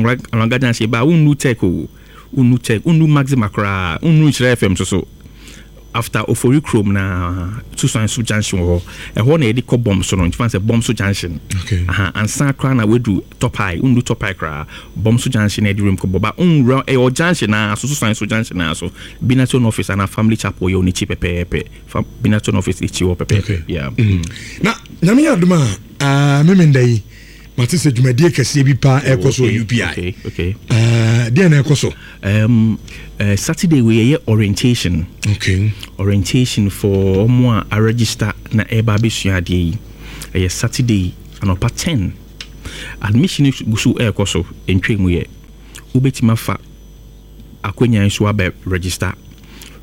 Anloga junction ba wonnu Tech o, wonnu Tech, wonnu Maxima koraa, wonnu Nhyira FM so so. After Ofori kurom na Susuanso junction wɔ hɔ. Ɛhɔ na yɛde kɔ Bɔm so no, nti fa sɛ Bɔm so junction. Aha, ansa koraa na wadu Top High, wondu Top High koraa. Bɔm so junction na yɛde rem kɔ bɔ ba nwura ɛyɛ junction na so Susuanso junction na so. Binaton office ana Family Chapel yɛ wɔ n'akyi pɛpɛɛpɛ. Fa Binaton office akyi hɔ pɛpɛɛpɛ. Okay. Yeah. Na Nyame yɛ adom a, ah, Memenda yi, mate sɛ dwumadie kɛseɛ bi paa ɛrekɔ so wɔ UPI. Okay. Ah, deɛ na ɛkɔ so? Saturday wei yɛyɛ orientation. Okay. Orientation for ɔmo a aregister na ɛreba abɛsua adeɛ yi. Ɛyɛ Saturday anɔpa 10. Admission gu so ɛrekɔ so, ntwa mu yɛ. Wobɛtumi afa akwanya yi so abɛ register.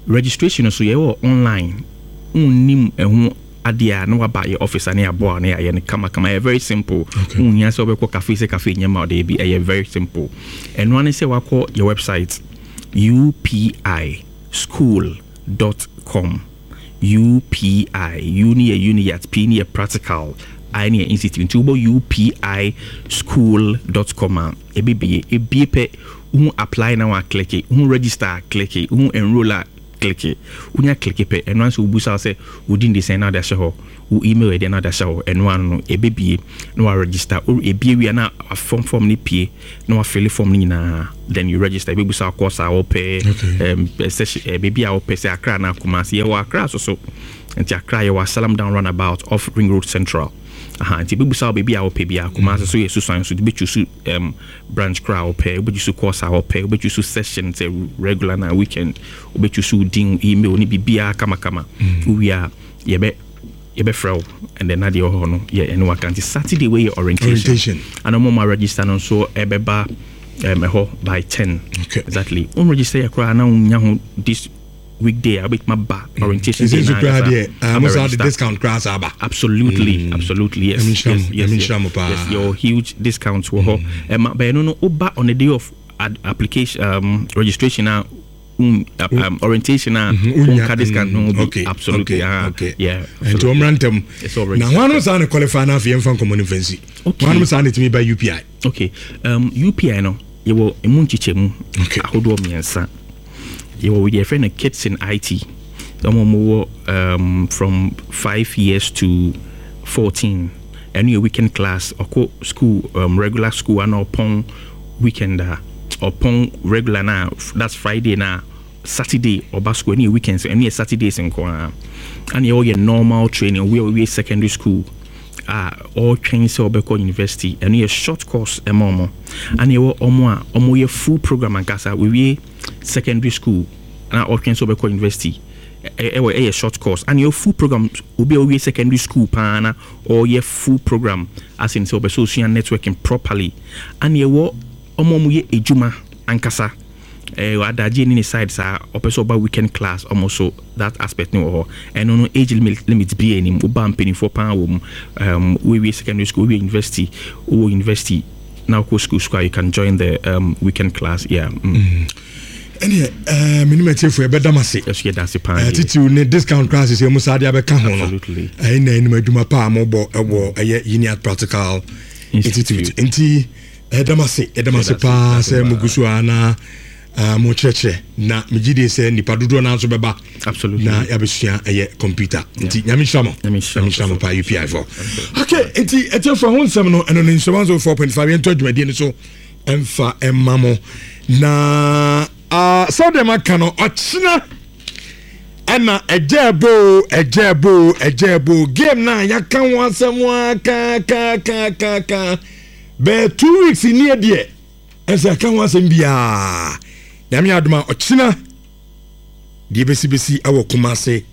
Registration no so yɛwɔ online. Wonnim ɛho adeɛ a na waba yɛ office a na yɛaboa na yɛayɛ no kamakama. Ɛyɛ very simple. Wonhia sɛ wobɛkɔ cafe sɛ cafe nyɛ ma ɔde bi. Ɛyɛ very simple. Ɛno ara ne sɛ wakɔ yɛ website upischool.com. UPI, U ne yɛ Uniat, P ne yɛ practical, I ne yɛ institute. Nti wobɔ upischool.com a ɛbɛbie. Ebie pɛ, wohu apply na wakleke, wohu register a kleke, wohu enroll a kleke. Wonya kleke pɛ, ɛno ara sɛ wobusa wo sɛ wo din de sɛn na wode ahyɛ hɔ, wo email yɛ deɛ na wode ahyɛ hɔ, ɛno ara no ɛbɛbie na waregister. Ebie wie a na form form no pie na wafille form no nyinaa, then you register. Ɛbɛbusa wo course a wopɛ, session, baabi a wopɛ sɛ Accra anaa Kumasi. Yɛwɔ Accra so so, nti Accra yɛwɔ Asalam Down roundabout off Ring Road Central. Aha, nti ɛbɛbusa wo baabi a wopɛ biara. Kumasi so yɛ Susuan so, wobɛchoose branch koraa a wopɛ, wobɛchoose course a wopɛ, wobɛchoose session sɛ regular na weekend, wobɛchoose wo din, wo email ne biribiara kamakama. Wowie a yɛbɛ yɛbɛfrɛ wo and then adeɛ wɔ hɔ no yɛ ɛne waka. Nti Saturday wei yɛ orientation. Orientation. Ana ɔmo ma register no nso ɛbɛba ɛhɔ by 10. Okay. Exactly. Wo register yɛ koraa na wonya ho this weekday a wobɛtumi aba orientation day Ɛsɛ nso na koraa ankasa deɛ, ah, abɛ mo saa de register. discount koraa saa aba. Absolutely, absolutely, yes. Nyame nhyira Yes, mo, yes, Nyame yes. nhyira mo paa. Yes, your huge discounts wɔ hɔ. Ɛma bɛyɛ no no woba on the day of application registration a orientation a Wonya, wonka discount no bi. okay, Absolutely. okay, ah, okay. Yeah. Nti ɔmmra ntɛm. It's already Na hwanom saa ne qualify no afei yɛmfa nkɔmmɔ no mfa nsi. Okay. Hwanom saa ne tumi ba UPI? Okay. UPI no yɛwɔ emu nkyekyɛmu Okay. ahodoɔ mmiɛnsa. Yɛwɔ deɛ yɛfrɛ no kids in IT. Ɔmo a wɔwɔ from 5 years to 14. Ɛno yɛ weekend class. Ɔkɔ school, regular school ana ɔpɔn weekend a ɔpɔn regular na that's Friday na Saturday ɔba school. Ɛno yɛ weekends, ɛno yɛ Saturdays nko ara. Ɛna yɛwɔ yɛ normal training. Obi a ɔwie secondary school a ɔretwɛn sɛ ɔbɛkɔ university, ɛno yɛ short course ɛma ɔmo. Ɛna yɛwɔ ɔmo a ɔmo yɛ full program ankasa, wɔwie secondary school na ɔretwɛn sɛ ɔbɛkɔ university, ɛwɔ ɛyɛ short course. Ɛna yɛwɔ full program, obi a ɔwie secondary school paa na ɔreyɛ full program as in sɛ ɔbɛ sɛ ɔsua networking properly. Ɛna yɛwɔ ɔmo a ɔmo yɛ edwuma ankasa, adagye ne ne side saa ɔpɛ sɛ ɔba weekend class, ɔmo so that aspect ne wɔ hɔ. Ɛno no age limit bi anim, woba mpanimfoɔ paa wɔ mu, wowie secondary school, wowie university, wowɔ university na wokɔ school school a, you can join the weekend class, yeah. Ɛneɛ menim atiefoɔ yɛbɛda m ase. Ɛso yɛda ase paa. Eh, deɛ. Titiw ne discount koraa sɛ mu saa de abɛka ho no. Absolutely. Ɛyi na anim adwuma paa mobɔ ɛwɔ ɛyɛ Uniat Practical Institute. Institute. Nti ɛdam ase, ɛdam ase Yɛda ase, paa yɛda ase sɛ paa. mogu so a na mokyerɛkyerɛ na megye die sɛ nnipa dodoɔ no nso bɛba Absolutely. na yɛabɛsua ɛyɛ computer. Nti Nyame nhyira mo. Nyame nhyira Nyame nhyira mo mo. paa UPI fo. Okay, nti ɛtiɛfoɔ ho nsɛm no ɛno no nhyɛ 104.5 yɛntɔ adwumadie no so ɛmfa ɛma mo na sɛdeɛ maka no ɔkyena ɛna ɛgya ɛbo ɛgya ɛbo ɛgya ɛbo game na yɛaka ho asɛm a kaakaakaaka bɛɛ 2 weeks nie deɛ ɛsɛ ɛka ho asɛm biaa. Nyame adom a ɔkyena deɛ bɛsibɛsi ɛwɔ Kumase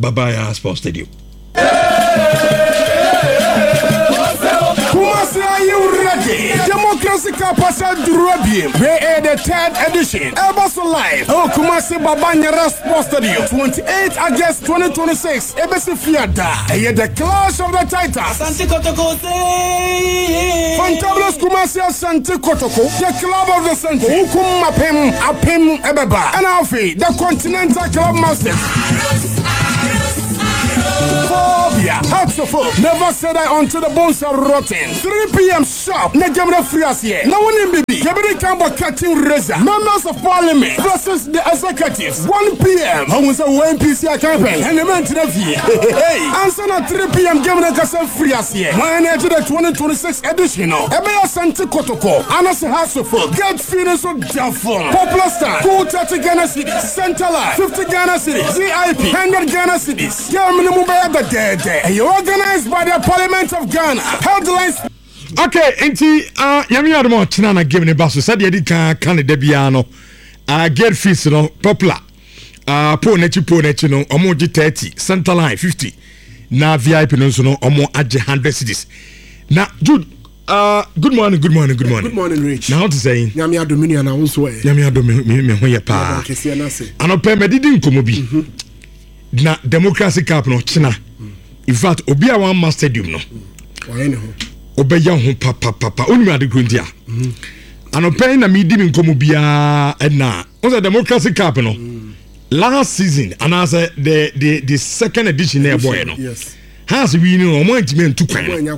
Babaya Sports Stadium. Kumasi, are you ready? Democracy Cup duru abiem. Wei ɛyɛ the third edition. Ɛbɔ so live. Ɛwɔ Kumasi Baba Yara Sports Stadium. 28 August 2026. Ebesi Fiada. Ɛyɛ the Clash of the Titans. Asante Kotoko say. Fantabulous Kumasi Asante Kotoko, the club of the century. Wukum apem apem ɛbɛba. Ɛna afei, the Continental Club Masters. Phobia. Hearts of Oak. Never say die until the bones are rotten. 3 p.m. sharp. Na game no firi aseɛ. Na wonim bibi. Yɛbɛdi kan bɔ curtain raiser. Members of Parliament versus the executives. 1 p.m. Ɔhu sɛ wo NPC akanpɛn. Ɛnna mɛntena fie. Hey. Ansa na 3 p.m. game no kasa firi aseɛ. Wɔn na ɛgye the 2026 edition no. Ɛbɛyɛ Asante Kotoko. Anase Hearts of Oak. Gate fee no nso da fam. Popular stand. Cool 30 Ghana cedis. Center line 50 Ghana cedis. VIP 100 Ghana cedis. Game no mu bɛyɛ dɛdɛɛdɛ. Ɛyɛ organized by the Parliament of Ghana. Headlines. Okay, nti uh, nyame yɛ adom a ɔkyena na game ne ba so sɛdeɛ ɛdi kan ka ne da biara no uh, gate fees no popular uh, pole n'akyi pole n'akyi no ɔmo gye 30 center line 50 na vip no nso no ɔmo agye 100 cedis na Jude good morning good morning good morning good morning Rich na ho te sɛn nyame adom me nua na wo nso ɛ nyame adom me me ho yɛ paa anɔpɛ mɛdidi nkɔmmɔ bi mm -hmm. na democracy cup no kyena in fact obi a wamma stadium no wobɛyɛ ho papapapa wonim ade kuro nti a mhm. anɔpɛ yi na medi me nkɔmmɔ biara ɛna wo sɛ democracy cup no mm. last season anaasɛ the the the second edition na ɛbɔɛ no Hearts wi no ɔmo antumi antu kwan no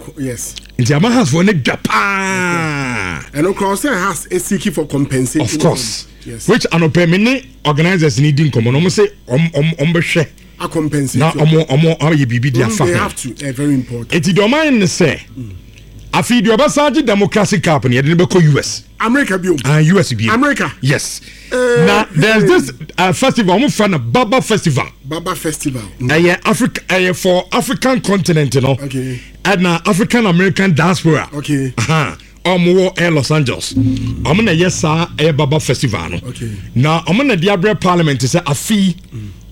nti ama Hearts foɔ no dwa paa. Ɛno kora ɔsɛ Hearts seeking for compensation. Of course. Yes. Which anɔpɛ me ne organisers ni di nkɔmɔ no ɔmo se ɔmo ɔmo bɛhwɛ. A compensate. Na ɔmo ɔmo ayɛ biribi di afa ho. They have to. Eh, very important. Eti deɛ ɔmo ayɛ ne sɛ afei deɛ ɔbɛsan agye democracy cup no yɛde no bɛkɔ US. America bio. Ah, US bio. America. Yes. Uh, na there's this festival wɔn fɛ no Baba Festival. Baba Festival. Ɛyɛ mm. Africa ɛyɛ for African continent no. Okay. Ɛna African American diaspora. Okay. Wɔn wɔ ɛyɛ Los Angeles. Wɔn na ɛyɛ saa ɛyɛ Baba Festival no. Okay. Na wɔn na de abrɛ parliament sɛ afi.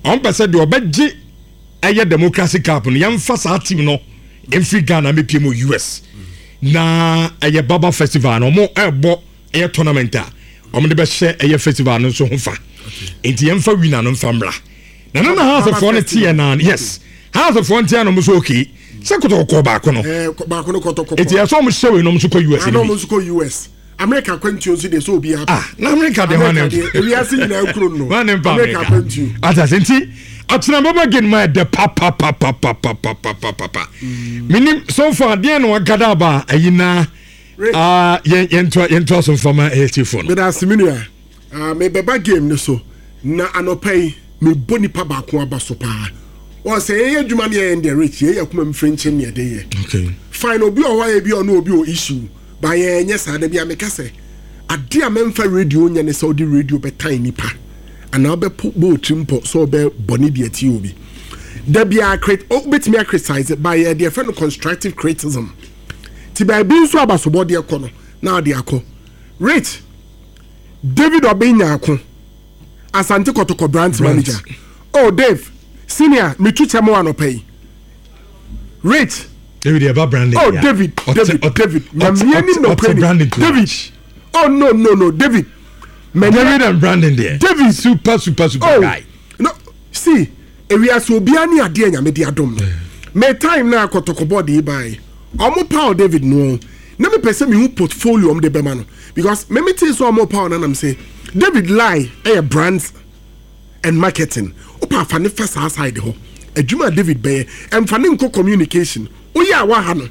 Wɔn pɛ sɛ deɛ ɔbɛgye ɛyɛ democracy cup no yɛnfa saa team no mfiri Ghana mepie mu US. Na ɛyɛ Baba Festival no wɔn ɛrebɔ ɛyɛ tournament a wɔn de bɛhyɛ ɛyɛ festival no nso ho fa nti yɛnfa winner no nfa mmra na na na housefoɔ no teɛ na yes housefoɔ no teɛ na wɔn nso okay sɛ kɔtɔkɔ baako no eh, baako no kɔtɔkɔ nti ɛsɛ wɔn hyɛ wei na wɔn nso kɔ US no bi wɔn nso kɔ US America kwantuo nso deɛ sɛ obi apa ah na America deɛ wɔn deɛ ewiase nyinaa kuro no wɔn ne mpa America kwantuo atase nti atena bɛbɛ gin ma ɛdɛ papapapapapapapa menim so far deɛ na wagada aba ayi na Ah, yɛn yɛntoa yɛntoa so nfa ma AFC no. Meda ase me nua. Ah, mebɛba game no so na anɔpa yi mebɔ nipa baako aba so paa. Wɔn sɛ yɛyɛ adwuma ne yɛyɛ deɛ rich yɛyɛ akoma mu firinkyin ne yɛde yɛ. Okay. Fine obi wɔ hɔ a ebi ɔno obi wɔ issue ba yɛn nyɛ saa da bi a meka sɛ ade a mɛmfa radio nyɛ ne sɛ ɔde radio bɛtan nipa anaa ɔbɛpo bɔ otiri mpɔ sɛ ɔbɛ bɔ ne deɛ tie obi. Da bi a crit obetumi a criticize ba yɛ deɛ fɛ no constructive criticism. Ti baabi nso abasobɔdeɛ kɔ no na ɔde akɔ. Rich David Obeng Nyarko, Asante Kɔtɔkɔ branch manager. Oh Dave, senior, metu kyɛ mo anɔpa yi. Rich. David ɛba branding. Oh David, David, David, nyamie ni nɔkure ni. David, oh no no no David. David and branding there. David, super super super oh, guy. No, see. Ewiase obiara ne adeɛ a Nyame de adom no. Me time no a kɔtɔkɔ board yi baeɛ, ɔmo paw David no, na mepɛ sɛ mehu portfolio ɔmo de bɛma no because me metee sɛ ɔmo paw no na mese David Lai yɛ brands and marketing, wopɛ a fa ne fa saa side hɔ, adwuma a David bɛyɛ, ɛmfa ne nkɔ communication, woyɛ a waha no.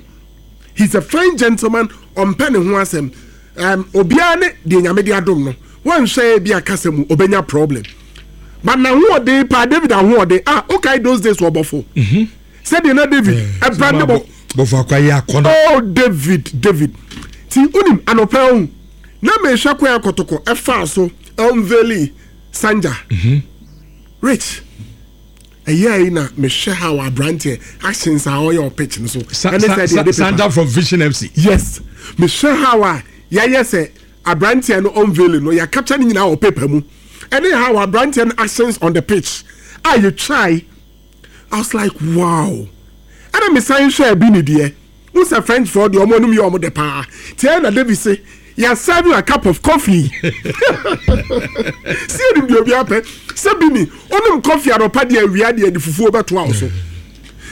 He's a fine gentleman, ɔmpɛ ne ho asɛm. Obiara ne deɛ Nyame de adom no, wanhwɛ ebi a kasa mu obenya problem. But n'ahoɔden paa, David ahoɔden, ah, okay, those days wɔ bɔfo. Mhm. Sɛdeɛ na David ɛbra ne bɔ. Bɔfo akwa yɛ akɔnɔ. Oh, David, David. Ti unim anɔpɛ ohun. Na mehwɛ kwan akɔtɔkɔ ɛfaa so unveili Sanja. Mhm. Rich. Ɛyɛɛ yi na mehwɛ how abranteɛ actions a ɔyɛ wɔ pitch no so. Ɛne sɛ deɛ ɛde Sanja from Vision FC. Yes, mehwɛ how a yɛayɛ sɛ abranteɛ no unveiling no yɛ capture ne nyinaa wɔ paper mu. Ɛne how abranteɛ no actions on the pitch a yɛtwae. I was like wow. Ɛna mesan hwɛɛ bi ne deɛ. Wohu sɛ French foɔ deɛ ɔmo anom yɛ ɔmo dɛ paa. Nti ɛyɛ na David se yɛ serve you a cup of coffee. Si yɛnim deɛ obiara pɛ. Sɛ bi ni, wonom coffee anɔpa deɛ awia deɛ de fufuo bɛtoa wo so.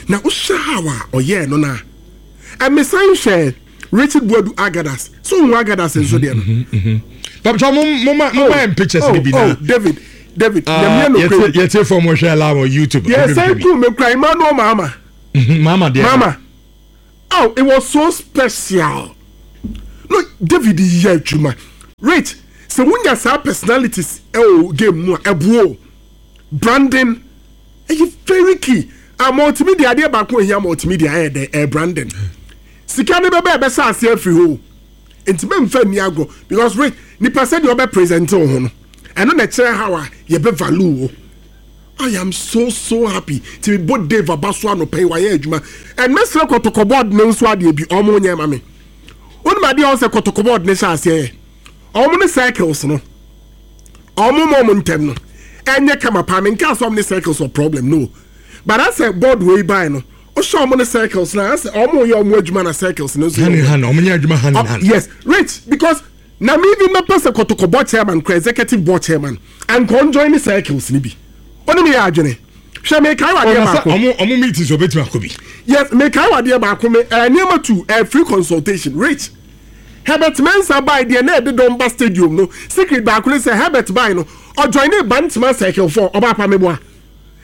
Na wohwɛ how a ɔyɛɛ no no a. Ɛmesan hwɛ Richard Boadu Agadas. So wohu Agadas nso deɛ no? Papa, mo mo ma mo ma yɛn pictures ni bi na. Oh, David, David, nyamia no kure. Yɛtie fɔ mo hwɛ live on YouTube. Yɛ sɛ ku me kura Emmanuel Mahama. Mama deɛ. Mama. Oh, it was so special. No, David yɛ adwuma. Rich, sɛ wonya saa personalities ɛwɔ game mu a, ɛboa o. Branding ɛyɛ very key. A multimedia adeɛ baako ehia multimedia ɛyɛ dɛ ɛyɛ branding. Sika ne bɛbɛ ɛbɛhyɛ aseɛ afiri hɔ o. Nti mɛmfa nni agorɔ because Rich, nipa sɛdeɛ ɔbɛ present wo ho no, ɛno na ɛkyerɛ how a yɛbɛ value wo. I am so so happy ti mi bɔ Dave aba so anɔpa yi wayɛ adwuma and mɛsrɛ kɔtɔkɔ board ne nso adeɛ bi ɔmo nyɛ ma me onim adeɛ ɔn sɛ kɔtɔkɔ board ne hyɛ aseɛ yɛ ɔmo ne circles no ɔmo ma ɔmo ntɛm no ɛnyɛ kama paa me nka sɛ ɔmo ne circles wɔ problem no but asɛ board wei bae no ɔhyɛ ɔmo ne circles na asɛ ɔmo yɛ ɔmo adwuma na circles no nso yɛ hand in hand ɔmo nyɛ adwuma hand in hand yes rich because Na me even mɛpɛ sɛ kɔtɔkɔ board chairman kora executive board chairman anka ɔn join ne circles no bi. Ɔne me yɛ adwene. Hwɛ mekae wɔ adeɛ baako. Ɔmo ɔmo meetings ɔbɛtumi akɔ bi. Yes mekae wɔ adeɛ baako me ɛɛ nneɛma tu ɛɛ free consultation rich Herbert Mensah bae deɛ na ɛde dɔm ba stadium no secret baako ne sɛ Herbert bae no ɔjoine Bantama circle four ɔbaa pa meboa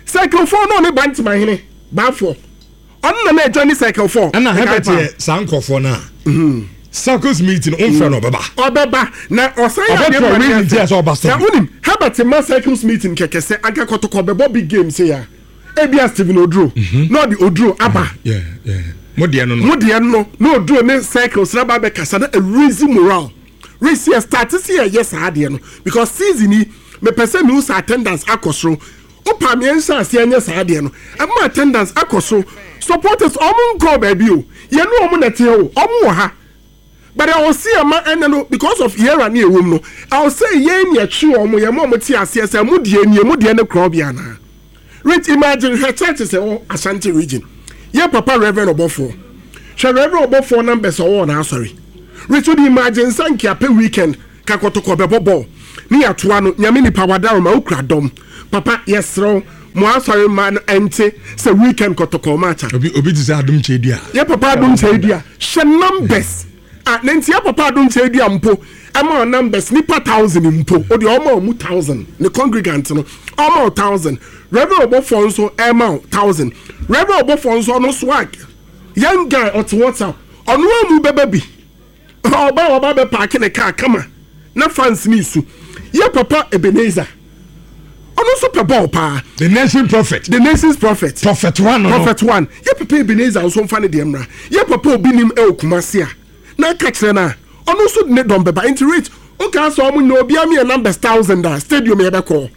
circle four na ɔne Bantama hene baafoɔ. Ɔno na na ɛjoin circle 4. Ɛna Herbert yɛ saa nkurɔfoɔ no a mhm. circles meeting ɔmfrɛ no ɔbɛba. Ɔbɛba na ɔsan yɛ adeɛ ma ne yɛ fɛ. Na wonim Herbert ma circles meeting kɛkɛ sɛ anka kɔtɔkɔ bɛbɔ big game sɛ ya ebia Stephen Oduro mhm. na ɔde Oduro aba. Mo deɛ no no. Mo deɛ no na Oduro ne circles na ba bɛkasa na raise morale. Raise yɛ start sɛ yɛyɛ saa adeɛ no because season yi mepɛ sɛ mehu sɛ attendance akɔ soro. Wopa me yɛnhyɛ aseɛ nyɛ saa adeɛ no. Ɛma attendance akɔ soro. Supporters ɔmo nkɔɔ baabi o. Yɛne ɔmo na ɛte o. Ɔmo wɔ ha. But ɛwɔ se yɛma ɛnɛ no because of era ne ɛwɔ mu no, ɛwɔ sɛ yɛn na yɛtwe ɔmo, yɛma ɔmo te aseɛ sɛ mo deɛ nie, mo deɛ ne korɔbea anaa. Rich imagine hwɛ churches ɛwɔ Ashanti region. Yɛ papa Reverend Ɔbɔfoɔ. Hwɛ Reverend Ɔbɔfoɔ numbers ɔwɔ wɔ n'asɔre. Rich wode imagine sɛ nka apɛ weekend Ka kɔtɔkɔ bɛbɔ bɔɔl ne yɛatoa no Nyame nipa wadaroma wo kura dɔm papa yɛsrɛ wo mo asɔre mma no ɛnte sɛ weekend kɔtɔkɔ match a. Obi obi te sɛ Adom Kyei Dua. Yɛ papa Adom Kyei Dua hyɛ numbers a na nti yɛ papa Adom Kyei Dua mpo ɛma wo numbers nipa thousand mpo o deɛ ɔma ɔmu thousand ne congregant no ɔma wo thousand Reverend Ɔbɔfoɔ nso ɛma wo thousand Reverend Ɔbɔfoɔ nso ɔno swag young guy ɔte WhatsApp ɔno amu bɛba bi. Ɔba a waba abɛ paake ne car kama na fans ne su. Yɛ papa Ebenezer. Ɔno nso pɛ bɔɔl paa. The nation prophet. The nation's prophet. Prophet one no. Prophet one. Yɛ papa Ebenezer nso nfa ne deɛ mmra. Yɛ papa obi nim ɛwɔ Kumasi a na aka kyerɛ no a ɔno nso de ne dɔm bɛba. Nti Rich wokaa sɛ ɔmo nyina obiara mi yɛ numbers thousand a stadium yɛbɛkɔ.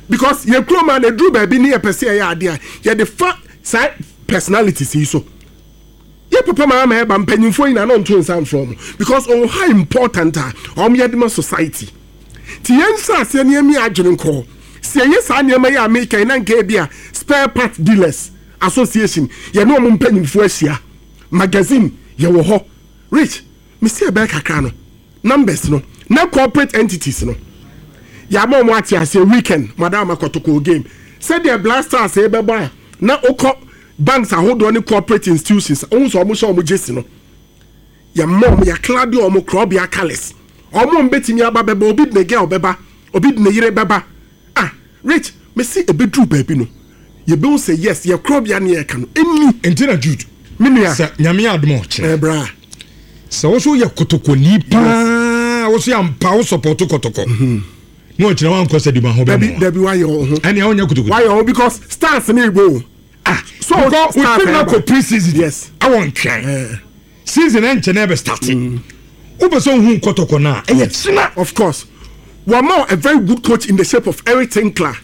Because yɛ kurom a na eduru baabi ne yɛpɛ sɛ yɛyɛ adeɛ a yɛde fa saa personalities yi so. Yɛ papa maa ma ɛba mpanyinfoɔ nyinaa na ɔnto nsa mfrɛ wɔn because ɔwɔ how important a wɔn yɛ de ma society. Ti yɛn nhyɛ aseɛ na yɛn mi adwene nkɔ hɔ. Sɛ yɛyɛ saa nneɛma yi a meka yi na nka ebi a spare part dealers association yɛne wɔn mpanyinfoɔ ahyia magazine yɛwɔ hɔ rich mesi ɛbɛyɛ kakra no numbers no na corporate entities no yɛama wɔn ate aseɛ weekend madam akɔtɔkɔ game sɛdeɛ blasters bɛbɔ a na okɔ Banks ahodoɔ ne corporate institutions wohu sɛ wɔn hyɛ wɔn gyesi no yɛma wɔn yɛaklade wɔn korɔbea colours wɔn a wɔbɛtumi aba bɛba obi de ne girl bɛba obi de ne yere bɛba ah rich mesi ebeduru baabi no yɛbɛhu sɛ yes yɛ korɔbea ne yɛka no ɛnni. Nti na Jude me nua sɛ nyame yɛ adom a ɔkyena eh, bra sɛ wo so yɛ kotokoni paa wo so yɛ ampa wo sɔpɔto kɔtɔkɔ mm -hmm. na ɔkyena wankɔ sɛ dima ho bɛmɔ dabi wayɛ wo ho ɛnea wonyɛ kotokoni wayɛ wo because stars ne ɛbɔ o Ah, so because we team na kɔ pre-season. Yes. Awɔ ntwɛn. Eh. Season ɛnkyɛn na ɛbɛ start. Mm. Wopɛ sɛ ohun kɔtɔkɔ na ɛyɛ kyina. Of course. Wama a very good coach in the shape of Eric Tinkler.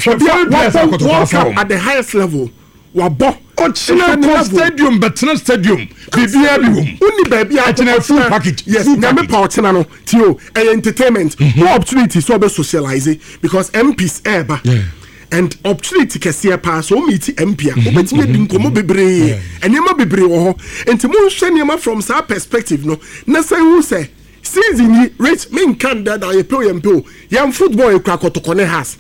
Obi a wabɔ World Cup at the highest level. Wabɔ. Ɔkyina kɔ stadium bɛtena stadium biribiara bi wɔ mu. Wonni baabi a ɛkyina full package. Yes, nyame pa ɔkyina no. Tio, ɛyɛ entertainment. Mm-hmm. More opportunity so ɔbɛ socialize because MPs ɛɛba. Yeah. And opportunity kɛseɛ paa sɛ wo meet MP a wobɛtumi adi nkɔmmɔ bebree nneɛma bebree wɔ hɔ nti monhwɛ nneɛma from saa perspective no na sɛ hu sɛ season yi rich menka ndada yɛpɛ o yɛmpɛ o yɛn football yɛkura kɔtɔkɔ ne has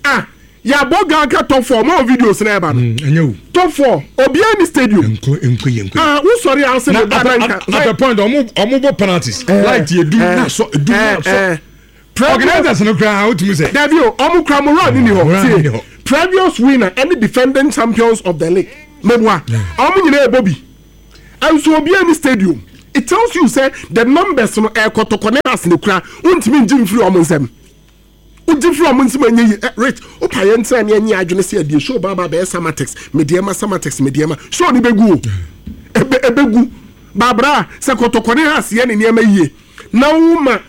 ah yɛabɔ Ghana top four ma videos na ɛba no mm, top four obiara ni stadium ah wosɔre a wosɛ ne ba na nka at the point ɔmo ɔmo bɔ penalties eh, light yɛ dum eh, na sɔ dum na sɔ eh, organizers no koraa wotumi sɛ dabi o ɔmo kura mo run ni hɔ tie. Previous winner ɛne defending champions of the league. Meboa. Ɔmo nyinaa ɛbɔ bi. Ɛnso obiara ni stadium. It tells you sɛ the numbers no ɛyɛ kɔtɔkɔ ne Hearts na ekura. Wontumi ngye mfiri ɔmo nsam. Wogye firi ɔmo nsam ɛnyɛ yie. Ɛ Rich, wopa yɛn ntena ne yɛnyɛ adwene sɛ yɛde show ba aba abɛyɛ Samatex, Medeɛma, Samatex, Medeɛma. Show no bɛgu o. Ɛbɛ ɛbɛgu. Babra, sɛ kɔtɔkɔ ne Hearts yɛ ne nneɛma yie na woma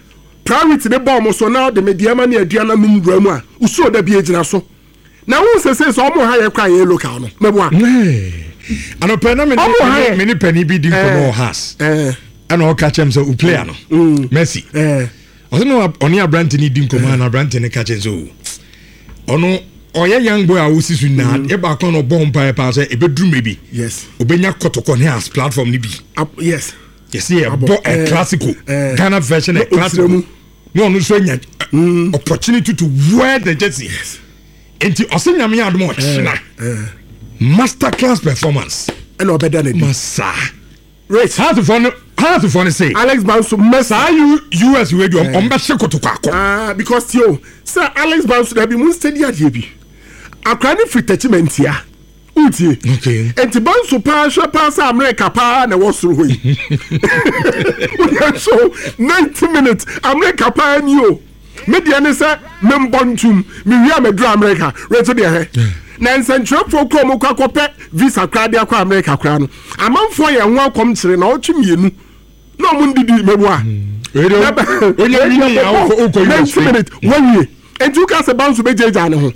Priority no ba ɔmo so na ɔde Medeɛma ne Aduana nom wura mu a, wo show da bi egyina so. Na wohu sɛ sei sɛ ɔmo ha yɛ koraa yɛyɛ local no. Mɛboa. Anɔpɛ na me ne me ne panin bi di nkɔmɔ wɔ Hearts. Ɛna ɔka kyerɛ me sɛ o player no, Messi. Ɔsɛ na ɔne aberante no di nkɔmɔ a na aberante no ka kyerɛ sɛ o ɔno ɔyɛ young boy a wosi so nyinaa mm. ɛbaako na ɔbɔ mpaeɛ paa sɛ ɛbɛduru mmerɛ bi yes ɔbɛnya kɔtɔkɔ ne as platform no bi yes yɛsɛ yɛbɔ a classico eh, Ghana version a classico na ɔno nso anya eh, mm. opportunity to wear the jersey yes nti ɔsɛ nyame adom ɔkyena eh, master class performance ɛna ɔbɛda n'adi masa Rich. Heartfoɔ no Heartfoɔ no se. Alex Banso mess. Saa U US wei deɛ ɔmo bɛ hye kotoko akɔ. Ah because tie o sɛ Alex Banso dabi mo steady adeɛ bi akora ne firi Techimantia wotie. Okay. Nti Banso paa hwɛ paa sɛ America paa na ɛwɔ soro hɔ yi. Wodeɛ so 90 minutes America paa ni o. Me deɛ ne sɛ membɔ ntum mewie a maduru America reto deɛ hɛ na nsɛnkyerɛfoɔ kura ɔmo kɔ akɔpɛ visa koraa de akɔ America koraa no amanfoɔ yɛ ho akɔm kyerɛ na ɔtwe mmienu na ɔmo ndidi meboa minute wawie nti woka sɛ banso bɛgyaagyaa ne ho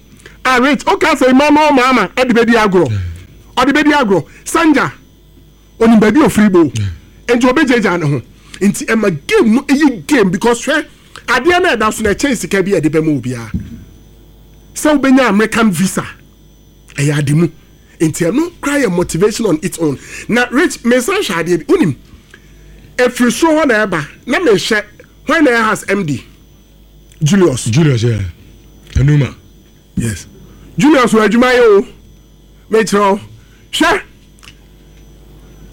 ah rich woka sɛ Emmanuel Maama ɛde bɛdi agorɔ ɔde bɛdi agorɔ sanja Onim baabi a ofiri ba o. Nti ɔbɛgyaagyaa ne ho. Nti ɛma game no yɛ game because hwɛ adeɛ no a ɛda so no ɛkyɛn sika bi a ɛde bɛma obiara. Sɛ wobɛnya American visa ɛyɛ ade mu. Nti ɛno koraa yɛ motivation on its own. Na Rich mesan hwɛ adeɛ bi wonim ɛfiri soro hɔ na ɛba na mehwɛ hwan na ɛyɛ has MD Julius. Julius yeah. Anuma. Yes. Julius wɔ adwuma yɛ o. Mekyerɛ wo. Hwɛ.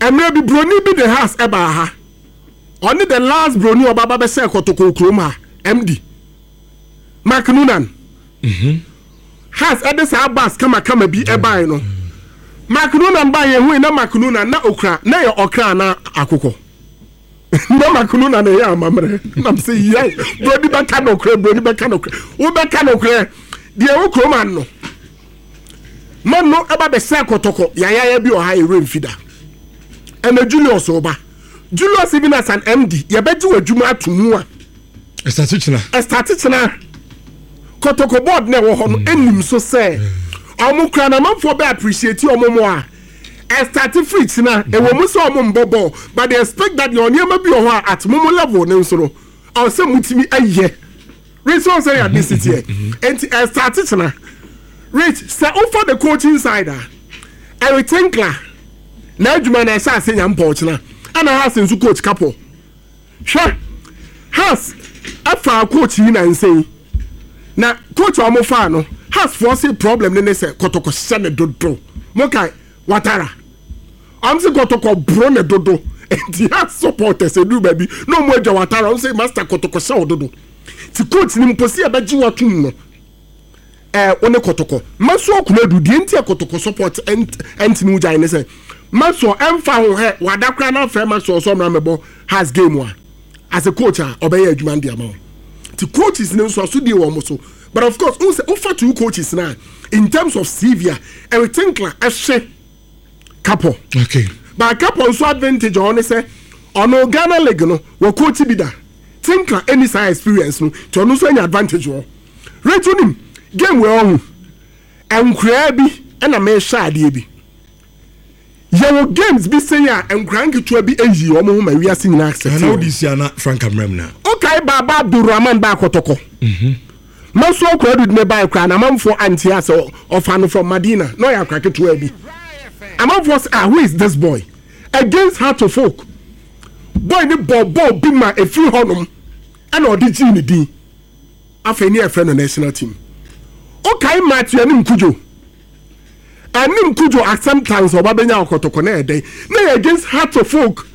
Mmerɛ bi broni bi de has ɛbaa ha. Ɔne the last broni ɔba ba bɛsɛ kɔtɔkɔ kurom ha. MD. Mark Noonan. Mm -hmm. Has ɛde saa bus kamakama bi ɛbae no. Mark Noonan ba yɛn hui na Mark Noonan na okura na yɛ ɔkra na akokɔ. Na makunu na ne yɛ amammerɛ nam sɛ yɛ broni bɛka nokorɛ broni bɛka nokorɛ wobɛka nokorɛ deɛ wo kurom ano ma no ɛba bɛsɛ kɔtɔkɔ yayaya bi ɔha ɛwerɛ mfi da ɛna Julius ɔba Julius even as an MD yɛbɛgye w'adwuma ato mu a ɛstate kyena ɛstate kyena kɔtɔkɔ board na ɛwɔ hɔ no ɛnim so sɛ ɔmo kura na amanfoɔ bɛ appreciate ɔmo mo a Ɛstate firi kyena, ɛwɔ mu sɛ ɔmo mbɔ bɔɔl but they expect that deɛ nneɛma bi wɔ hɔ a at momo level no nso no ɔwɔ sɛ motumi yɛ. Rich sɛ ɔsɛ yɛ ade si teɛ nti ɛstate kyena. Rich sɛ wofa the coaching side a Eric Tinkler n'adwuma no ɛhyɛ ase nya mpɔw kyena ɛna Haas nso coach kapɔ. Hwɛ Haas ɛfaa coach yi nansa yi na coach a wɔn faa no Haas foɔ se problem ne ne sɛ kɔtɔkɔ hyɛ ne dodo mo kae Watara wɔn se kɔtɔkɔ boro ne dodo nti Haas supporters eduru baabi na wɔn adwa Watara wɔn se master kɔtɔkɔ hyɛ wo dodo ti coach ni mpo se ɛbɛgye watum no. Eh wo ne kɔtɔkɔ. Mɛsoɔ Konadu deɛ nti a kɔtɔkɔ support ɛntumi wo gyae ne sɛ Mɛsoɔ ɛmfa ho hɛ wada koraa na afrɛ Mɛsoɔ sɛ ɔmmra mmɛbɔ Hearts game a as a coach a ɔbɛyɛ adwuma no de ama wo nti coaches no nso asodie wɔ wɔn so but of course wohu sɛ wofa two coaches no a in terms of CV a Eric Tinkler ɛhye Kapɔ okay. But Kapɔ nso advantage ɔwɔ ne sɛ ɔno Ghana league no wɔ coach bi da Tinkler ɛni saa experience no nti ɔno nso anya advantage wɔ Rate wonim game wei ɔho nkoraa bi ɛna mehwɛ adeɛ bi yɛwɔ games bi sɛn a nkoraa nketewa bi ayi wɔn ho ma wiase nyinaa accept wɔn. Wode si ana Frank Amram na. Okae baaba Abdulrahman ba akɔtɔkɔ. Maso akora du ne bae koraa na amanfoɔ ante ase ɔfa no from Madina na ɔyɛ akora ketewa bi. Amanfoɔ sɛ ah who is this boy against Heart of Oak boy ne bɔ bɔɔl bi ma efiri hɔnom ɛna ɔde gyee ne din. Afei ne yɛfrɛ no national team. Wokae Matthew Anim Kudjo? Anim Kudjo acceptance ɔba bɛnya ɔkɔtɔkɔ na ɛdɛn? Na yɛ against Hearts of Oak.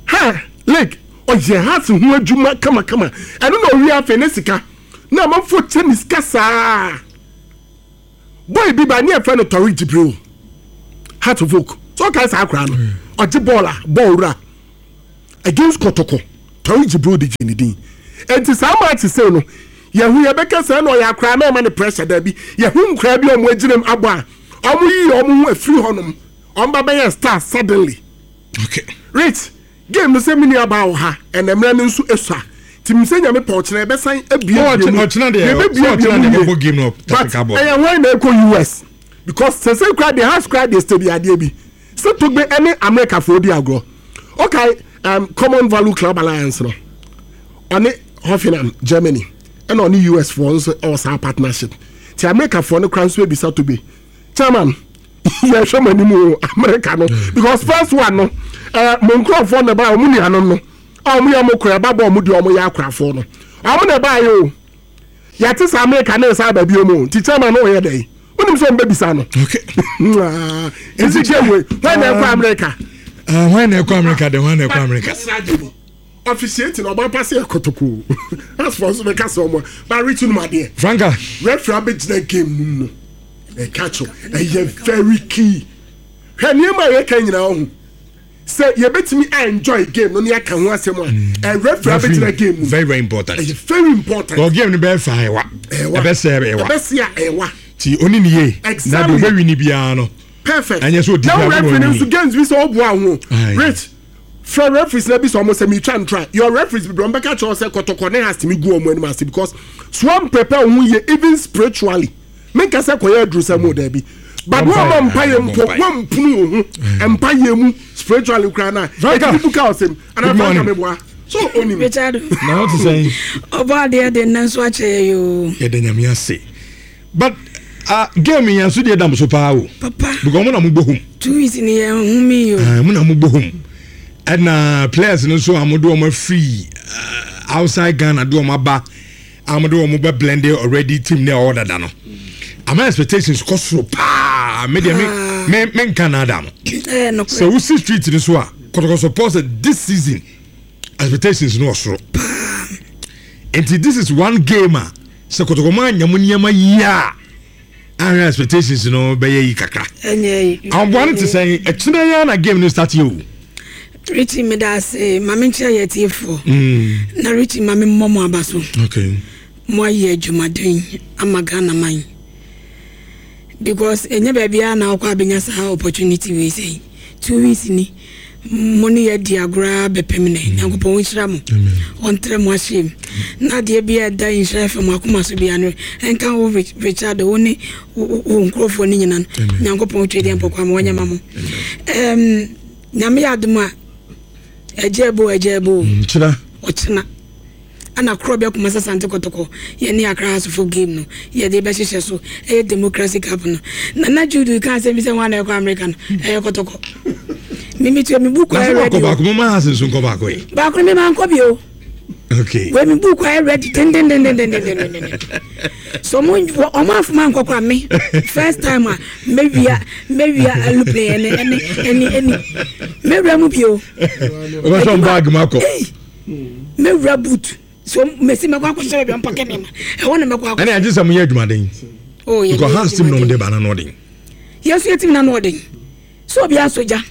Ha lake ɔyɛ Hearts ho adwuma kamakama. Ɛno na ɔwie afei ne sika. Na amanfoɔ kyɛ ne sika saa. Boy bi ba ne yɛfrɛ no Tariq Jibril, Heart of Oak. So ɔkae saa akora no, ɔgye bɔɔl a bɔɔl wura against Kɔtɔkɔ. Tariq Jibril de gye ne din. Enti saa match sei no, yɛhu yɛbɛka sɛ ɛna ɔyɛ akora na ɛma ne pressure daabi. Yɛhu nkora bi a wɔn agyina mu abɔ a wɔn yi wɔn ho afiri hɔnom, wɔn ba bɛyɛ star suddenly. Okay. Rich, game no sɛ me nua baa wɔ ha, ɛna mmerɛ no nso esua. Nti nim sɛ Nyame pɛ ɔkyena yɛbɛsan abuebue mu. Ɔkyena deɛ, Yɛbɛbuebue mu yie. Game no But ɛyɛ hwan na ɛkɔ US? Because sɛsɛ kura deɛ house kura deɛ steady adeɛ bi. Sɛ Togbe ɛne America foɔ di agorɔ. Okay, Common Value Club Alliance no. Ɔne Hoffenheim, Germany. Ɛna ɔne US foɔ nso ɛwɔ saa partnership. Ti America foɔ no kura nso ebisa Togbe. Chairman, yɛhwɛ mo anim o, America no. Because first one no, mo nkurɔfoɔ na ɛbaa ɔmo nuanom no. A ɔmo yɛ ɔmo kora ɛba bɔ ɔmo deɛ ɔmo yɛ akorafoɔ no. Ɔmo na ɛbaa yɛ o. Yɛte sɛ America ne nsa aba bio mu nti chairman no ɔyɛ dɛn? Wonim sɛ ɔmbɛbisa no. Okay. Nti game wei, hwan na ɛkɔ America? Hwan na ɛkɔ America de, hwan na ɛkɔ America? Officiating ɔba pa sɛ ɛkɔtɔkɔ. Asfɔ nso bɛka sɛ ɔmo ba reach no adeɛ. Franka. Referee abɛgyina game no mu no. Ɛka kyɛw. Ɛyɛ very key. Hwɛ nneɛma a yɛka nyinaa ho. Sɛ yɛbɛtumi a enjoy game no ne aka ho asɛm a, ɛ referee abɛgyina game mu. Very very important. Ɛyɛ very important. Well, game no bɛyɛ fa ɛwa. Ɛbɛsɛ ɛwa. Ɛbɛsɛ a ɛwa. Ti oni ni yie. Exactly. Na de ɔbɛwi ni biara no. Perfect. Ɛnyɛ sɛ odi bi agorɔ Na referee no nso games bi sɛ ɔboa ho. Rich, frɛ referees na bi sɛ ɔmo sɛ mi twa ntra. Your referees bi ɔmo bɛka kyerɛ sɛ kɔtɔkɔ ne has tumi gu ɔmo anim ase because so wɔn prepare ho yie even spiritually. Menka sɛ kɔyɛ aduru sɛ mo daabi. But wɔn ma mpa yɛ mpo wɔn mpunu wo ho mpa yɛ mu spiritually kura na ɛtumi buka ɔsɛm ana franka mi boa so onim. Richard na ɔte sɛn. Ɔbɔ adeɛ de nna nso akyɛ yɛ yoo. Yɛda Nyame ase but game yɛn so deɛ dam so paa o. Papa. Because mo na mo bɔ home. 2 weeks ni yɛn ho mi yo. Mo na mo bɔ home ɛna players no nso a mo de wɔn afiri outside Ghana de wɔn aba. A wɔde wɔn bɛ blend already team ne ɔwɔ dada no ama expectations kɔ soro paa. Me deɛ me me me nka na ada no sɛ wosi street no so a kɔtɔkɔ support this season expectations no wɔ soro nti this is one game a sɛ kɔtɔkɔ mu anya mu nneɛma yie a ahwɛ expectations no bɛyɛ yi kakra. Ahoboa no te sɛn ɛkyinɛ yɛn na game no start yɛ o. Richie meda ase ma me nkyerɛ yɛ tiefoɔ. Na Richie ma me mmɔ mo aba so. Okay. Mo ayɛ adwumaden ama Ghana man. Because ɛnyɛ baabi a na wokɔ abɛnya saa opportunity wei sɛn. 2 weeks ni mo ne yɛ di agorɔ bɛpem nɛ. Nyankopɔn ɔnhyira mo. Ɔntrɛ mo ahyɛ mu. Na adeɛ bi a ɛda nhyira fam akoma so bia no ɛnka wo Richard wo ne wo nkurɔfoɔ no nyina no. Nyankopɔn twe deɛ mpɔkwa ma wɔnyɛ ma mo. Nyame yɛ adom a ɛgya ɛbo ɛgya ɛbo. Nkyena. Ɔkyena. Ɛna korɔ bɛ Kumasi Asante Kɔtɔkɔ yɛ ne Accra Hearts of Oak game no yɛde bɛhyehyɛ so ɛyɛ Democracy Cup no. Nana Jude ka asɛm bi sɛ wɔn na ɛkɔ America no ɛyɛ Kɔtɔkɔ. Mimi tuo mi book ayɛ ready. Na sɛ wakɔ baako mo ma Hearts nso nkɔ baako yi. Baako no mi ma nkɔ bi o. Okay. Wei mi book ayɛ ready dendendendendendenden. So ɔmo ɔmo afoma nkɔ kora me first time a mewia mewia aeroplane ɛne ɛne ɛne ɛne mewura mu bio. Ɔbɛsɔ bag mu akɔ. Mewura boot so mesi mɛkɔ akɔhyɛ baabi a mpake nneɛma ɛhɔ na mɛkɔ akɔ. Ɛne agye sɛ mo yɛ adwumaden. Oh yɛ Because Hans team na ɔmo de ba na no ɔden. Yɛn nso yɛ team na no ɔden. So obi asɔ gya.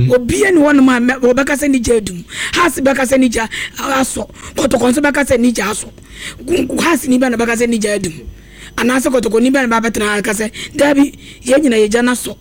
Obi ni hɔnom a wɔbɛka sɛ ne gya adum. Hans bɛka sɛ ne gya asɔ. Kɔtɔkɔ nso bɛka sɛ ne gya asɔ. Hans ni bɛ na bɛka sɛ ne gya adum. Anaasɛ kɔtɔkɔ ni bɛ na bɛtena ha ka sɛ daabi yɛn nyina yɛ gya no asɔ.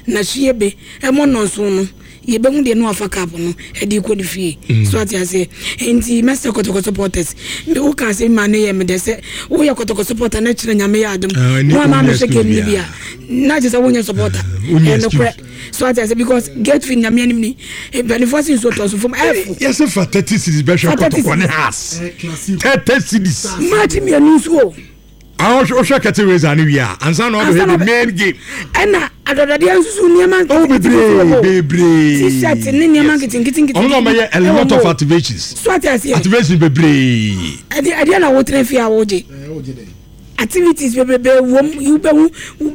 Na hwie be ɛmɔ nnɔnson no yɛbɛhu deɛ no afa cup no ɛde kɔ ne fie. So ate aseɛ. Nti mɛsɛ kɔtɔkɔ supporters. Me wo ka asɛm ma ne yɛ me dɛ sɛ woyɛ kɔtɔkɔ supporter na kyerɛ Nyame yɛ adom. Mo ama mehwɛ game no bi a na kyerɛ sɛ wonyɛ supporter. Ɛnokorɛ. So ate aseɛ because gate fee Nyame anim ni mpanimfoɔ se nsuo tɔ so fam ɛfo. Yɛsɛ fa 30 cities bɛhwɛ kɔtɔkɔ ne Hearts. 30 cities. Match mmienu nso o. Wohwɛ curtain raiser no wie a ansa na wabɛhwɛ the main game. Ɛna adɔdɔdeɛ nso so nneɛma nketenkete wɔ hɔ. Bebree. T-shirt ne nneɛma nketenkete nketenkete. Ɔmo na ɔmɛyɛ a lot of activations. So ate aseɛ. Activations bebree. Ɛdeɛ ɛdeɛ na wotena fie a wogye. Activities bebrebe wɔm wobɛhu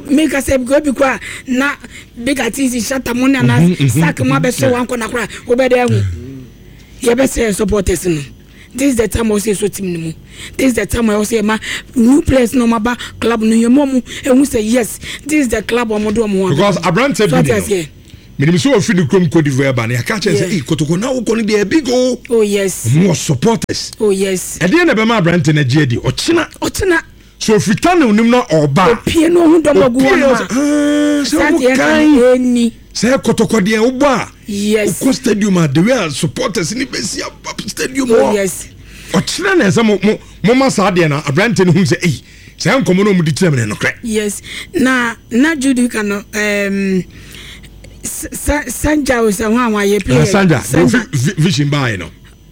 meka sɛ ebi kora na big artist shata mo ne anaa sack mo abɛhyɛ wankɔ na kora wobɛdɛ ahu. Yɛbɛsrɛ supporters no. This is the time a ɔsɛ yɛsɔ team no mu. This is the time a ɔsɛ yɛma new players na ɔmo aba club no yɛma ɔmo ehu sɛ yes this is the club ɔmo de ɔmo ho aba. Because aberanteɛ bi ni no menim sɛ ɔfiri ne kurom Cote d'Ivoire ba no yɛaka kyerɛ sɛ ei kotoko na wokɔ no deɛ big o. Oh yes. Ɔmo wɔ supporters. Oh yes. Ɛdeɛ na ɛbɛma aberanteɛ no agye adi ɔkyena. Ɔkyena. So ofiri tunnel nim na ɔba. Opie no ohun dɔm ɔgu hɔ nom a. Sɛ ɔmo kan sɛ kɔtɔkɔ deɛ wobɔ a. Yes. Wokɔ stadium a the way a supporters ni bɛsi aba stadium hɔ. Oh yes. Ɔkyerɛ na ɛsɛ mo mo mo ma saa deɛ na aberante no hu sɛ eyi saa nkɔmɔ no ɔmo di kyerɛ mi no nokorɛ. Yes na na Jude ka no um, Sanja o sɛ ho a wɔayɛ player. Sanja, Sanja vision baa no.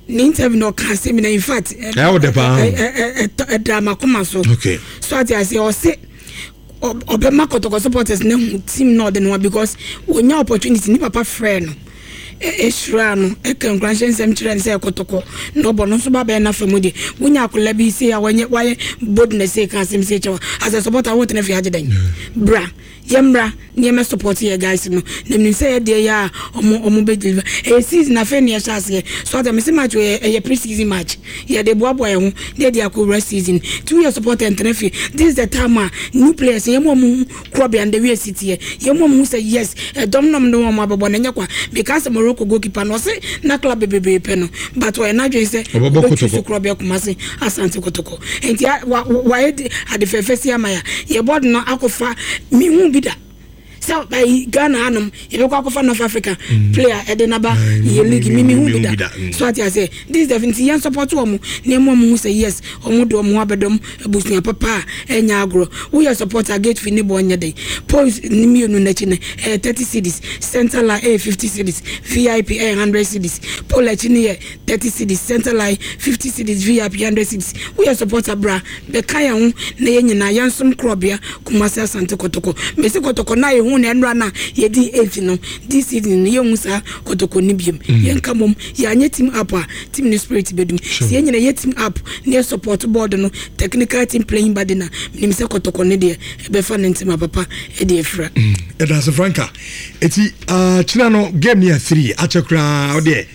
Ne interview no ɔka asɛm na in fact ɛyɛ wo dɛ paa ɛda makoma so okay so ate aseɛ ɔse ɔbɛma kɔtɔkɔ supporters no hu team na ɔde no ho because onya opportunity ne papa frɛ no ɛhyira no ɛka nkuranhyɛ nsɛm kyerɛ no sɛ kɔtɔkɔ na ɔbɔ no nso ba bɛyɛ n'afa mu deɛ wonya akwadaa bi sei a wɔnyɛ wayɛ boldness sei ka asɛm sei kyɛw as a supporter wotena fie agye dɛn bra Yɛmmra na yɛmmɛ support yɛ guys no na menim sɛ yɛ deɛ yɛ a ɔmo ɔmo bɛ deliver. Ɛyɛ season afei na yɛhyɛ aseɛ so ate mese match wei ɛyɛ pre season match yɛde boaboa yɛn ho na yɛde akɔ wura season nti woyɛ supporter ntena fie this is the time a new players yɛn mu ɔmo hu korɔbea no the way esi teɛ yɛn mu ɔmo hu sɛ yes ɛdɔm na ɔmo de wɔn abɛbɔ no ɛnyɛ kwa meka sɛ Morocco goalkeeper no ɔse na club bebree pɛ no but ɔyɛ n'adwene sɛ Ɔbɛbɔ ɔbɛ choose Kotoko. korɔbea Kumasi Asante Kotoko. Enti a wa wayɛ de ade fɛfɛ si ama ya. Yɛ bɔɔd no akɔfa me hu bi da. Sɛ ayi Ghana hanom yɛbɛkɔ akɔfa North Africa mm. player ɛde naba yɛ league mi mi hu bi da. Mm. So ate aseɛ this def nti yɛn support wɔn na ɛmu wɔn hu sɛ yes wɔn de wɔn ho abɛdɔm abusua papa a ɛnyɛ agorɔ. Woyɛ supporter gate fee ne bɔ nyɛ den. Points ne mmienu n'akyi no ɛyɛ 30 cedis, center line ɛyɛ 50 cedis, VIP ɛyɛ 100 cedis, pole akyi no yɛ 30 cedis center line 50 cedis vip 100 cedis woyɛ supporter bra bɛka yɛn ho na yɛn nyinaa yɛnsom korɔbea Kumasi Asante Kɔtɔkɔ mesi kɔtɔkɔ na yɛhu na ɛnora na yɛdi 8 no this evening no yɛnhu saa kɔtɔkɔ no biom mm. yɛnka mmom yɛanyɛ team up a team no spirit bɛdum sɛ yɛn nyinaa yɛ team up na yɛ support board no technical team playing body na menim sɛ kɔtɔkɔ no deɛ ɛbɛfa ne ntema papa ɛde afira ɛda ase franka ɛti ah, kyena no game no yɛ 3 akyɛ koraa wodeɛ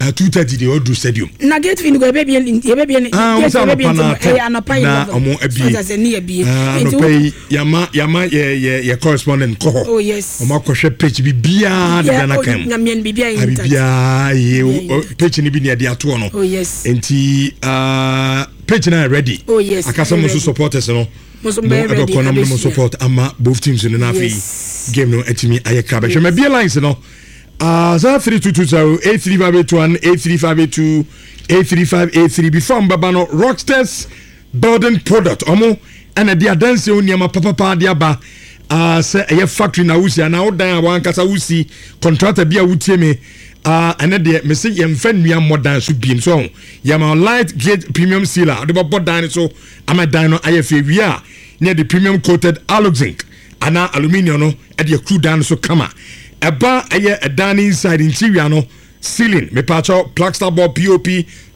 2:30 deɛ ɔduru stadium. Na gate fee no kɔ yɛbɛbie yɛbɛbie ne ah, gate yɛbɛbie nti ɛyɛ anɔpa yi na ɔmo abie so sɛ ne yɛbie ah, anɔpa yi yama yama yɛ yɛ yɛ correspondent kɔ hɔ oh yes ɔmo akɔhwɛ pitch bi biara deda na kan mu nyameɛ no biribiara yɛ intact biribiara yɛ pitch no bi ne yɛde atoɔ no oh yes nti ah, pitch na ready oh yes akasa mo so supporters no mo mo ɛbɛkɔ na mo mo support ama both teams no na afei game no atumi ayɛ kra bɛhwɛ ma bie lines no. Ah, 03220 83581 83582 83583 before mbaba no Rockstars building product ɔmo ɛna de adansi ho nneɛma papapa de aba ah, sɛ ɛyɛ factory na wosi anaa wodan a wankasa wosi contractor bi a wotie me ah, ɛnɛ deɛ mese yɛmfa nnua mmɔ dan so biem so ho yɛma light gate premium sealer wode bɛbɔ dan no so ama dan no ayɛ fɛ wie a ne yɛde premium coated aluzinc anaa aluminium no de akuru dan no so kama. Ɛba ɛyɛ ɛdan no inside interior no ceiling mepaakyɛw plaster board pop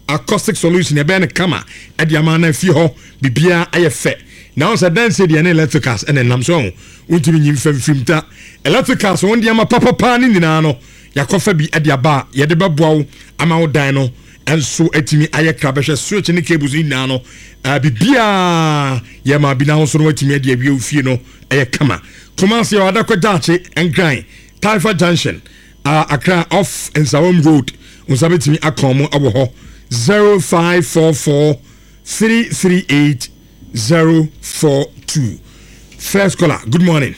acoustic solution ɛbɛyɛ no kama ɛde ama na fie hɔ biribiara ayɛ fɛ. Na wɔn sɛ dan sie deɛ ne electricals ɛna ɛnam so ɛho wontumi nyi mfa mfirim ta electricals wɔn de ama papapaa ne nyinaa no yakɔfa bi ɛde aba a yɛde bɛboa wo ama wo dan no nso atumi ayɛ kra bɛhwɛ switch ne cables no nyinaa no uh, biribiaa yɛ ma bi n'ahosuo no watumi adi awie wo fie no ɛyɛ kama Kumasi ɔ Adakɔ Gyaakye Nkran Taifa Junction uh, Accra off Nsawam Road nsa bɛtumi akɔn mo wɔ hɔ 0544 338 042 First caller, good morning.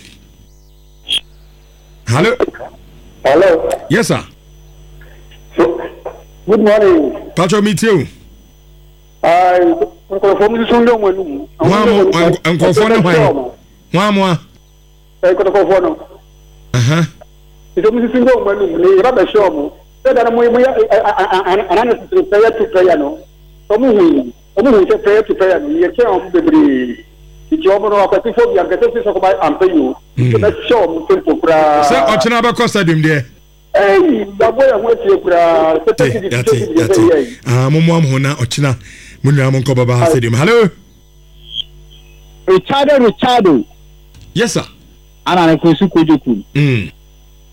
Hello. Hello. Yes, sir. So, good morning. Pacho, meet you. Nkurɔfoɔ mu susu ndé wɔn anum. Wɔn mo nkurɔfoɔ ne hwan? Wɔn mo a. Nkɔtɔkɔfoɔ no. Nti mu susu ndé wɔn anum ne yɛba bɛhyɛ wɔn. Sɛ da no mo mo yɛ analysis no prayer to prayer no. Wɔn hu yi wɔn hu sɛ prayer to prayer no yɛ kyɛn wɔn bebree. Nti wɔn no akwasifoɔ bi ankasa si sɛ kɔba ampa yi o. Nti bɛhyɛ wɔn simple koraa. Sɛ ɔkyena bɛkɔ stadium deɛ. Eii yɛabɔ yɛn ho asie koraa sɛ Yate yate yate ah mo mo ho na ɔkyena mo nyinaa mo nkɔ baba stadium hello. Richardo Richardo. Yes sir. Ana ne kwesu kojoku. Mm.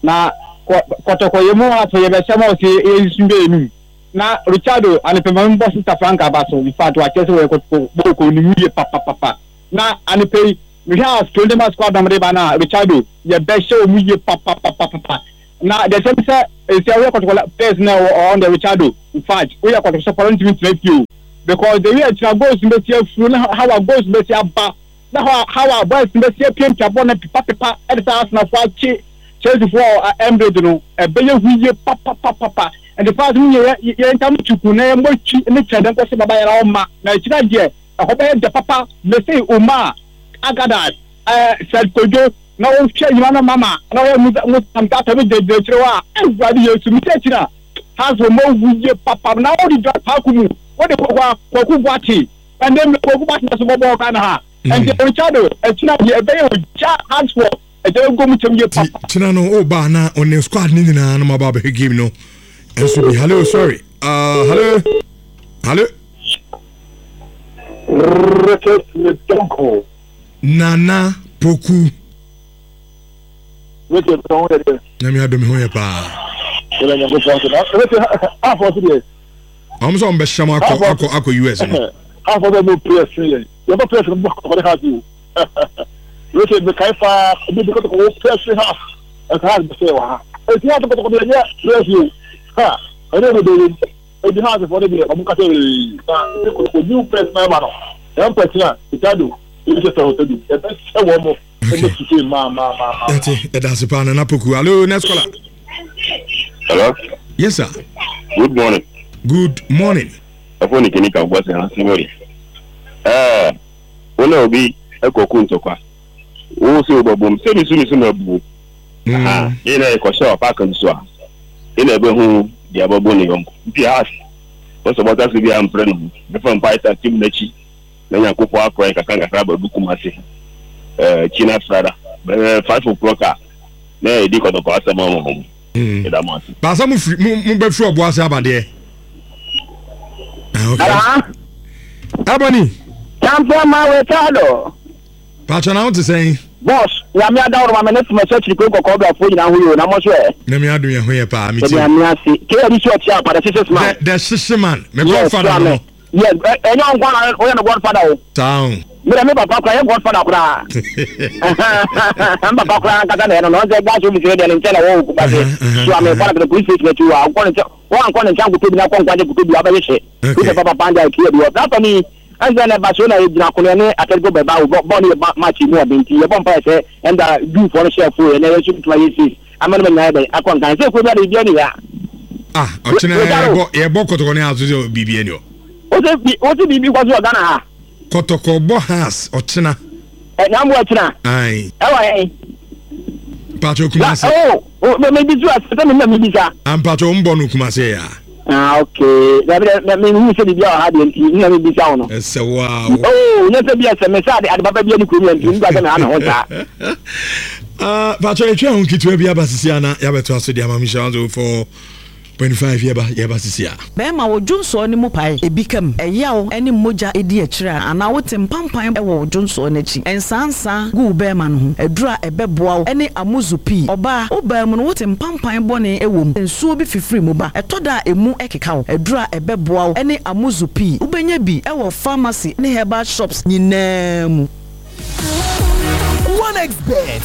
Na kɔtɔkɔ yɛ mu afɔ yɛ bɛsɛm ɔsɛ yɛ nsu bɛ enum. Na Richardo anepɛ ma me bɔ sister Franca aba so infact wakyerɛ sɛ wɔyɛ kɔtɔkɔ bɔɔl ɔnim yie papapapa na anepɛ yi mehwɛ a Strondema squad na wɔde ba no a Richardo yɛbɛhyɛ wɔn yie papapapapa na deɛ kyerɛ ne sɛ ɛsɛ woyɛ kɔtɔkɔ players na ɛwɔ ɔn deɛ Richardo infact woyɛ kɔtɔkɔ sɔpɔrɔ ntumi ntena fie o because the way akyina goals no bɛsi afuru na how a goals no bɛsi aba Na hɔ a how a boys no bɛsi apiapia bɔɔl no pepa pepa de sɛ Arsenal foɔ akye Chelsea foɔ wɔ Emirates no, ɛbɛyɛ hu yie papapapapa. Nti fans no nyɛ yɛ ntam tuku na yɛmmɔ twi ne kyɛdɛ nkɔhyɛ Baba Yara hɔ ma. Na akyire deɛ, ɛhɔ bɛyɛ dɛ papa. Mese Umar, Agadas, eh, Fred Kojo, na wohwɛ Nyina no mama, na wohwɛ Musa, Musa Mtata no gyinagyina akyire hɔ a, Awurade Yesu, mese akyire a, Hearts foɔ moawu yie papa. Na wode dwa paako mu, wode Kwaku Boakye, Ɛnde mmerɛ Kwaku Batena so bɔbɔɔ Ghana ha. Ɛnti Richardo ɛkyina deɛ ɛbɛyɛ ogya hard for ɛgya bɛgɔ mu kyɛm yie papa. Kyina no o ba na ɔne squad ne nyinaa no ma ba bɛhwɛ game no ɛnso bi. Hello sorry uh, hello hello. Richard Medonko. Nana Poku. Richard ho yɛ deɛ. Nyame adom ho yɛ paa. Yɛda Nyankopɔn ase. Na Richard afɔ so deɛ. Wɔn sɛ wɔn bɛhyɛ mo akɔ akɔ akɔ US no. Afɔ sɛ mo press yɛn. Yɛn bɛ press no mo kɔ de house o. Richard mekae paa ebi bi kɔtɔkɔ wo press house. Ɛka house bɛ sɛ wɔ ha. Eti house kɔtɔkɔ deɛ nyɛ press o. Ha ɛne ɛde bɛ yɛn. Eti house fɔ de deɛ wɔn kasa ee. Na eti kɔtɔkɔ new press na ɛba no. Yɛn press na Ricardo ebi sɛ sɛ hotel bi. Yɛbɛ hyɛ wɔn mo. Yɛte ɛda ase paa Nana Poku. Hello, next caller. Hello. Yes, sir. Good morning. Good morning. Ɛfɔ ne kini ka bɔ sɛ hansi wɔ Ɛɛ, wo na obi ɛkɔ ku ntɔkwa. Wo sɛ wobɛbom sɛ misu misu ma buo. Aha, yɛn na yɛkɔhyɛ wɔ paaka nso a, yɛn na ɛbɛhu deɛ ɛbɛbɔ ne yɔnko. Nti has, wɔsɛ bɔta so bi a mprɛ ne ho. Bɛfa mpae ta tim n'akyi. Na Nyankopɔn akora yɛn nkakrankakra aba du Kumasi eh, China Frada bɛyɛ 5 o'clock a na yɛdi kɔtɔkɔ asɛm ama wɔn. Yɛda mo ase. Baasa mo firi mo mo bɛ firi ɔbo ase aba deɛ. Ah, okay. Ebony. Champion man Ricardo. Paatwa na ho te sɛn? Boss, Nyame adaworo ma me ne toma so akyiri kuro kɔkɔɔ brafoɔ nyinaa ho yɛ o, na mo nso ɛ? Nyame adom yɛ ho yɛ paa, me tie. Nyame ase. KRD so ɔkyea apa, the hyehye man. The hyehye man, me godfather no. Yes, ɛnyɛ wo nko na woyɛ no godfather o. Saa o. Me deɛ me papa koraa yɛ godfather koraa. Me papa koraa ankasa na ɛyɛ no no. Ɔsɛ gas office no deɛ ne nkyɛn na ɛwɔ wɔ Kumasi. So ame kɔ na police station akyi hɔ a wokɔ ne nkyɛn woankɔ ne nkyɛn ankɔtɔ bi na akɔ nkwagye kɔtɔ bi a wobɛhyehyɛ. Wosɛ papa paa deɛ akyi adi hɔ. Saa fa ni ɛnsɛ na Barcelona yɛgyina kono ɛne Atletico Bilbao bɔɔl no yɛ match mu ɔden nti yɛbɔ mpaeɛ sɛ ɛnda Jewfoɔ no hyɛ fo yɛ na yɛn nso bɛtumi ayɛ safe. Ama no ma nyinaa yɛ dɛn akɔ nkan sɛ kuro bi ade biribi ani ha. Ah, ɔkyena yɛbɔ yɛbɔ kɔtɔkɔ ne aso sɛ biribi ani hɔ. Wose bi wose biribi kɔ so wɔ Ghana ha. Kɔtɔkɔ bɔ has ɔkyena. Ɛ na mo ɔkyena. Ayi. Ɛwɔ hɛn. Mpatsɔ Kumasi. Oh, oh, me bi so asɛ me na me bisa. Ah, mpatsɔ mbɔ no Kumasi ya. Ah, okay. Na bi na me hu sɛ biribi wɔ ha deɛ nti na me bisa wo no. Ɛsɛ wa o. Oh, nyɛ sɛ bi ɛsɛ me sɛ ade ade papa bi ani kurom yɛ nti nka sɛ me ha me ho saa. Ah, patrɔ yɛtwa ho ketewa bi aba sisi ana yɛabɛto aso de ama mehyɛ 104.5 yɛba yɛba sisi a. Bɛrima, wo dwonsɔɔ no mu pae, ebi ka mu, ɛyaw ne mogya di akyire a, anaa wote mpampan wɔ wo dwonsɔɔ no akyi, nsaansaa gu wo bɛrima no ho, aduru a ɛbɛboa wo ne amuzu pii. Ɔbaa, wo baa mu no wote mpampan bɔne wɔ mu, nsuo bi fifiri mu ba, ɛtɔ da a emu keka wo, aduru a ɛbɛboa wo ne amuzu pii. Wobɛnya bi wɔ pharmacy ne herbal shops nyinaa mu. 1xBet.